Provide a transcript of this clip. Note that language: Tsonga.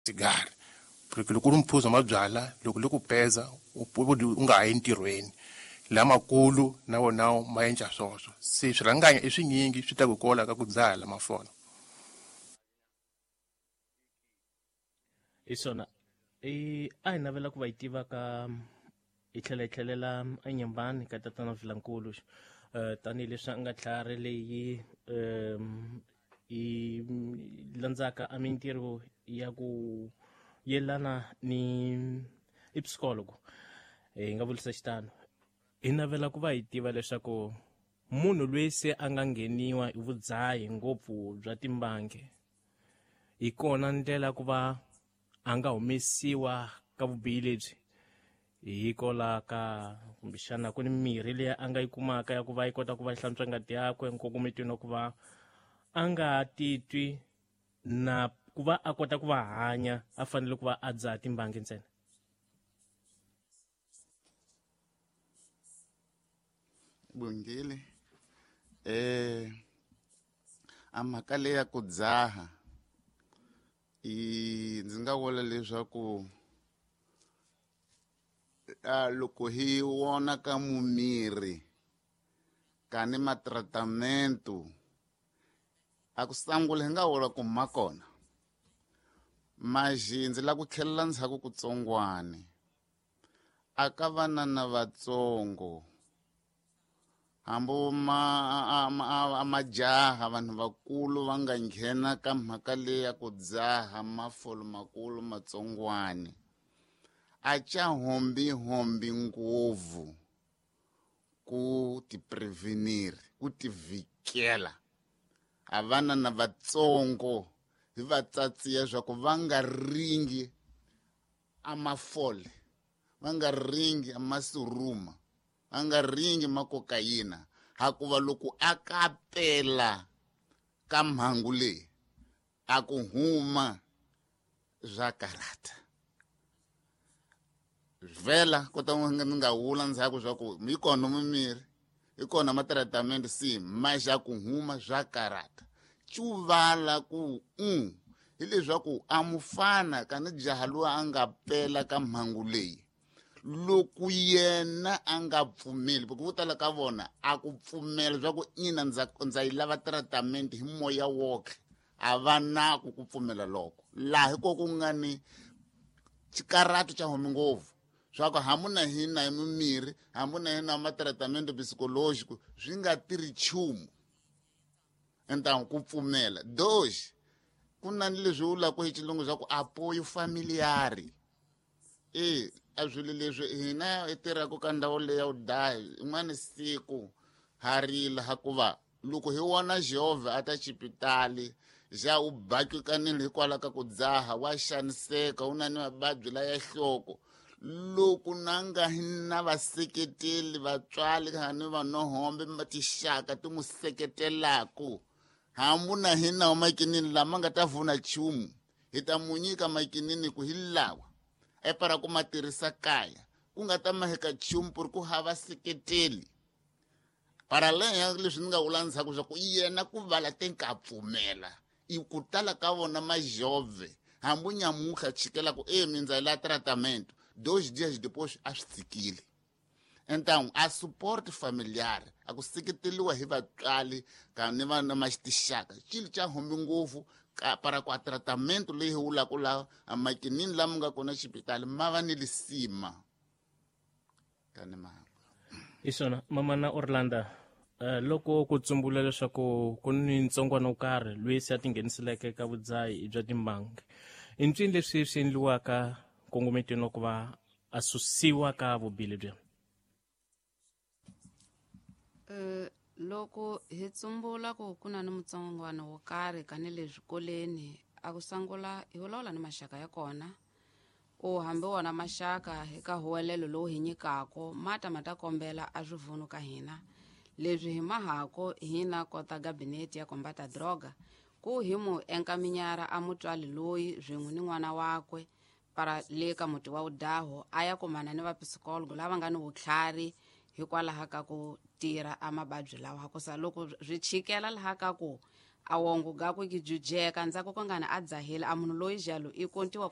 Sigari porque loko u ri mphuzo wa mabyala loko li ku peza u nga ha yi ntirhweni lamakulu na wona ma endla swoswo se swirhanganya i swinyingi swi ta ku kola ka ku dzaha lamafolo. Hi swona i a hi navela ku va yi tiva ka hi tlhela hi tlhelela enyembani ka tatana Vilankulu tanihileswi a nga tlhari leyi yi landzaka a mintirho ya ku yelana ni i psikologo hi nga vulisa xitano hi navela ku va hi tiva leswaku munhu loyi se a nga ngheniwa hi vudzahi ngopfu bya timbangi hi kona ndlela ku va a nga humesiwa ka vubihi lebyi hikola ka kumbexana ku ni mirhi leyi a nga yi kumaka ya ku va yi kota ku va yi hlantswa ngati yakwe nkongometweni wa ku va a nga titwi na ku va a kota ku va hanya a fanele ku va a dzaha timbangi ntsena. Bongile a mhaka leyi ya ku dzaha i ndzi nga vula leswaku a loko hi vona ka mumiri ka ni matratamento a ku sangula hi nga vula ku ma kona maxi ndzi la ku tlhelela ndzhaku kutsongwani a ka vana na vatsongo hambi ma a majaha vanhu vakulu va nga nghena ka mhaka leyi ya ku dzaha mafolo makulu matsongwani a ca hombi ngopfu ku ti prevenir ku ti vhikela a vana na vatsongo hi va tsatsiya swa ku va nga ringi a mafole va nga ringi a masuruma va nga ringi makokayina hakuva loko a kapela ka mhangu leyi a ku huma swa karata vhela kota ni nga wula ndzhaku swa ku yi kona mimiri yi kona matratamente si ma xa ku huma swa karata cuvala ku hileswaku a mufana ka ni jaha loyi a nga pela ka mhangu leyi loko yena a nga pfumeli porque vo tala ka vona a ku pfumela swa ku ina ndza yi lava tratamente hi moya woke a va na ku ku pfumela loko laha hi ko ku nga ni xikarato xa humi ngopfu swa ku hambi na hina hi mimirhi hambi na hina matratamente psikológico swi nga tirhi nchumu entangu ku pfumela doxi ku na ni leswi vulaka hi xilungu swa ku apoyo familiari e a swilo leswi hina hi tirhaka ka ndhawu leyi ya vudahi in'wana siku ha rila hakuva loko hi vona Jehovha a ta xipitali xa u bakikanile hikwalaho ka ku dzaha wa xaniseka u na ni mavabyi la ya nhloko loko na nga na vaseketeli vatswari ni vanohombe tixaka ti n'wi seketelaku hambi na hina makinini lama nga ta vuna nchumu hi ta mu nyika makinini ku hi lawa epara ku ma tirhisa kaya ku nga ta maheka nchumu ku ri ku hava seketeli paralel leswi ni nga vula ndzhaku swa ku yena ku vala te ka pfumela i ku tala ka vona majove hambi nyamutlha chikela ku e mindza la tratamento 2 dias depois a swi tshikile então a support familiar a ku seketeliwa hi vatswari ka ni vana matixaka xilo xa humbi ngopfu ka para ku a tratamento leyi hi vulaka laha a makinini lama nga kona xipitali ma va ni lisima ka ni mhaka hi swona mamana Orlando loko ku tsumbula leswaku ku ni ntsongwana wo karhi loyi se a tingheniseleke ka vudzahi bya timbangi i ncini leswi swi endliwaka nkongometweni wa ku va a susiwa ka vubihi lebyi? Loko hi tsumbula ku ku na ni mutsongwana wo karhi ka ni le swikolweni a ku sangula hi vulavula ni maxaka ya kona u hambi wona maxaka hi ka huwelelo lowu hi nyikako mata ma ta kombela a swivunu ka hina leswi hi mahako hina kota gabinete ya kombata droga ku hi mu enkaminyara a mutswali loyi swin'we ni n'wana wakwe para le ka muti wa udaho a ya kumana ni vapsikologo lava nga ni vutlhari hikwalaho ka ku tirha a mavabyi lawa hakusa loko swi chikela laha ka ku a wongo gakwe ki jujeka ndzhaku ko ngani a dzahile a munhu loyi jalo i kontiwa.